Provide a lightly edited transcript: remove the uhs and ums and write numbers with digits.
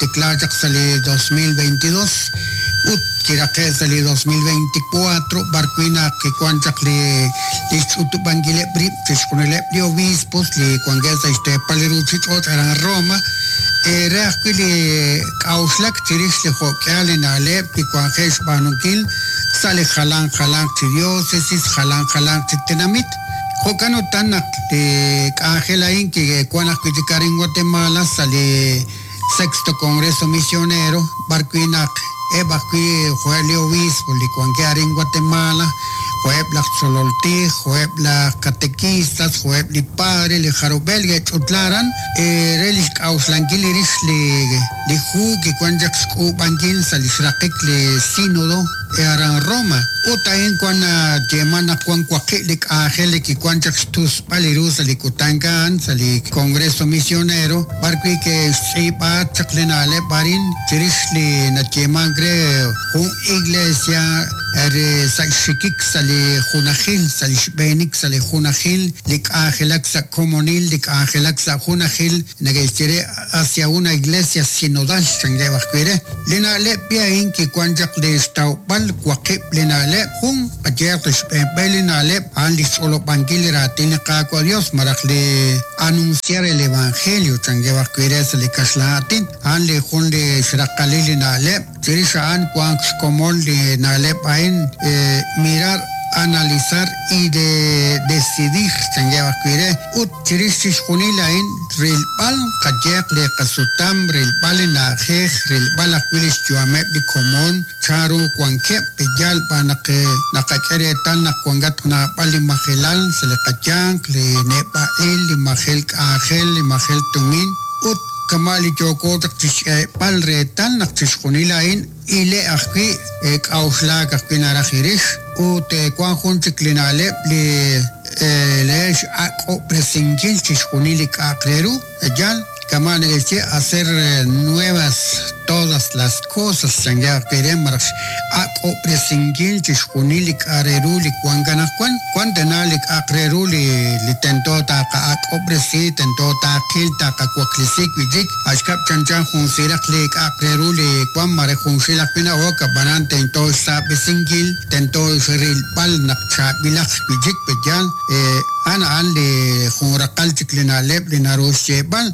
kitikla chaq sa' li 2022 ut kiraqe' sa' li 2024 b'ar wi' naq kiwan chaq li li xch'utub'ankileb' rib' chixjunileb' li obispos li wankeb' sa' xteepal li ruchich'och' aran Roma re ajwi' li k'a'uxlak chirix li jo'k'ihal li na'leb' kiwanje' xb'aanunkil sa' li jalanq jalanq chi diocesis, jalanq jalanq chi tenamit. Jo'kan utan naq li k'anjel a'in kiwan ajwi' chik arin Guatemala sa' li Sexto Congreso Misionero, b'ar wi' naq eb' ajwi' jo'eb' li obispo li wankeb' arin Guatemala, jo'eb' laj tzolol tij, jo'eb' laj catequistas, jo'eb' li padre, li jarub'el ke'ch'utla aran re li xk'a'uxlankil li rix li li hu kiwan chaq xk'uub'ankil sa' li xraqik li Sínodo aran Roma. Ut a'in wan nayeeman naq wan waqib' li k'anjel li kiwan chaq xtusb'al li ru sa' li kutan a'an sa' li Congreso Misionero, b'ar wi' ke'xtz'iib'a chaq li na'leb' arin chirix li nayeemank re jun iglesia re sa' xxikik sa' li junajil, sa' li xb'eenik sa' li junajil, li k'anjelak sa' komonil, li k'anjelak sa' junajil, neke'xye re hacia una iglesia sinodal, chankeb' ajwi' re. Li na'leb' b'i a'in kiwan chaq li xtawb'al waqib' li na'leb', jun, qayehaq li xb'een b'e li na'leb' a'an li xch'olob'ankil li raatin li Qaawa' Dios malaj li anunciar el evangelio, chankeb' ajwi' re sa' li kaxlan aatin, a'an li jun li xraqalil li na'leb'. Chirix a'an wank xkomon li na'leb' a'in, mirar, analizar y de decidir, chankeb' ajwi' re. Ut chirix chixjunil a'in, rilb'al qayehaq li qasutam, rilb'al li na'ajej, rilb'al ajwi' li xyu'ameb' li komon, chanru wankeb', yaal b'an naq naqak'e reetal naq wankatq naab'al li majelal sa' li qayanq, li neb'a'il, li majel k'anjel, li majel tumin, ut kama' li yooko chaq chixk'eeb'al reetal naq chixjunil a'in ile ajwi', k'a'uxlaak ajwi' naraj irix. Ut wan jun chik li na'leb' li re x'ak'ob'resinkil chixjunil li k'a'aq re ru, yaal, kama' neke'xye hacer nuevas todas las cosas chankeb' ajwi' re malaj x'ak'ob'resinkil chixjunil li k'a' re ru li wank anaqwan. Wan tana li k'a'aq re ru li li tento taaqa'ak'ob'resi, tento taaqil, taaqawaklesi wi' chik. A' xkab' chanchan jun siraq li k'a'aq re ru li wan mare junxil ajwi' na'ok, ab'anan tento xsaab'esinkil, tento xrilb'al naq chaab'ilaq wi' chik, pe'yaal? A'an a'an li jun raqal chik li na'leb' li naru xyeeb'al.